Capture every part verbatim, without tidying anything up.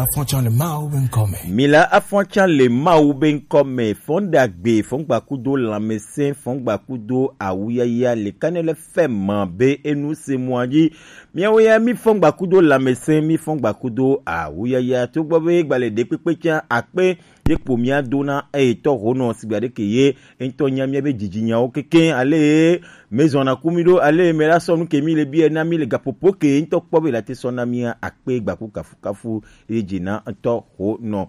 Afɔtsa le Mawu be ŋkɔ me. Mila afɔtsa le Mawu be ŋkɔ me. Fɔn ɖagbe, fɔn gbakudo lãmesẽ, fɔn gbakudo awuyaya le Kanel F M be enu se mɔa dzi. Miawo ya mi fɔn gbakudo lãmesẽ, mi fɔn gbakudo awuyaya. Togbɔ be gbalẽ ɖekpekpe tsã akpe ye kpo mia dona eye tɔ ho nɔ sigba ɖe ke ye ŋutɔ nya mia be dzidzinyawo kekeŋ ale mezɔna ku mi ɖo ale me la sɔ nu ke mi le bia na mi le gaƒoƒo ke ŋutɔ kpɔ be la te sɔ na mia akpe gbaku kafukafu ye dzi na ŋutɔ ho nɔ.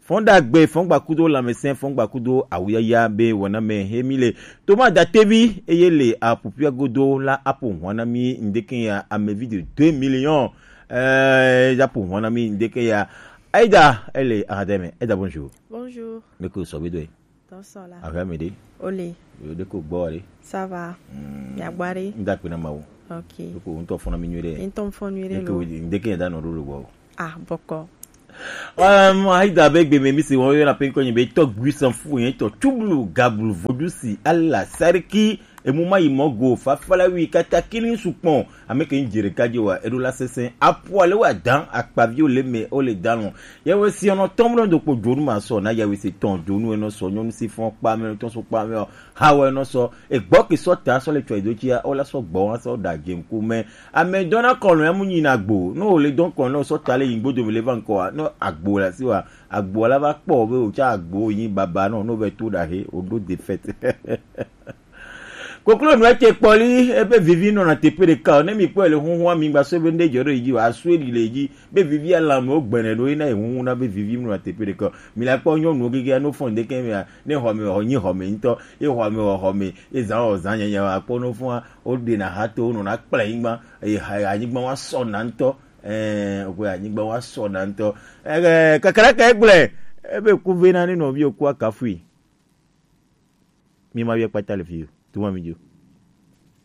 Fɔn ɖagbe, fɔn gbakudo lãmesẽ, fɔn gbakudo awuyaya be wɔna me he mi le. Toma Datevi eye le aƒuƒua godo la aƒo hɔn na mi ŋdeke ya amevi de deux millions. Eh, ya ƒo hɔn na mi ŋdeke ya. Aida, ele ahademe. Aida, bonjour. Bonjour. Me ko sɔ be do. Tɔ sɔ la. Ahwe me de. Ole. Yo de ko gbɔ de. Ça va. Mm. Ya gbɔ de. Nda pe na Mawu. Ok. Ko ŋutɔ fɔna mi nyuie de. Ŋutɔ fɔ nyuie de. Ko lo. Ŋdeke ya da nɔ ɖo lo gbɔ. Ah, bɔkɔ. Um, Aida be gbe me mi se wɔn yɔna pe ŋkɔ nyi be tɔ gbui sanfu yɛn tɔ tublu gablu vodusi ala sariki emu ma yi mɔ go fafala wi kata kini sukpɔn ame ke ŋdze ɖeka dzi wa eɖo la sese apu ale wa dan akpaviwo le me o le dan lɔ. Yawe si ɔnɔ tɔmlɔ do kpo dzonu ma sɔ na yawe se tɔn dzonu enɔ sɔ nyɔnu si fɔn kpa me tɔn so kpa me o. Hawɛ nɔ sɔ egbɔ ke sɔ ta sɔ le tsɔ edo tsia o la sɔ gbɔ wa sɔ da dze ŋku me. Ame dɔna kɔnɔ ya mu nyina gbo. No le dɔn kɔnɔ sɔ ta le yin gbodo le va ŋkɔ wa. No agbo la si wa. Agbo la va kpɔ be o tsa agbo yin baba no no ve to da he o do de fete. Koklo nu ete kpɔli ebe vivi nɔ na tepe ɖeka o ne mi kpɔ le huhua mi gba so be ne dzɔ ɖe yi dzi o asu eɖi le yi dzi be vivi alame wo gbɛnɛ ɖo yi na yi huhu na be vivi nɔ na tepe ɖeka o mi la kpɔ nyɔnuwo gege ya no fɔn ɖeke mea ne xɔme wɔ nyi xɔme ŋutɔ ye xɔme wɔ xɔme ye zã wɔ zã nyanya wa kpɔ no fɔn wo ɖe na ha to no na kple anyigba ye ha anyigba wa sɔ na ŋutɔ ɛɛ o ko anyigba wa sɔ na ŋutɔ ɛɛ kakra ka egblɛ ebe ku ve na ne nɔvi o ku akafui mi ma yɔ kpata le fi o tuma mi dzo.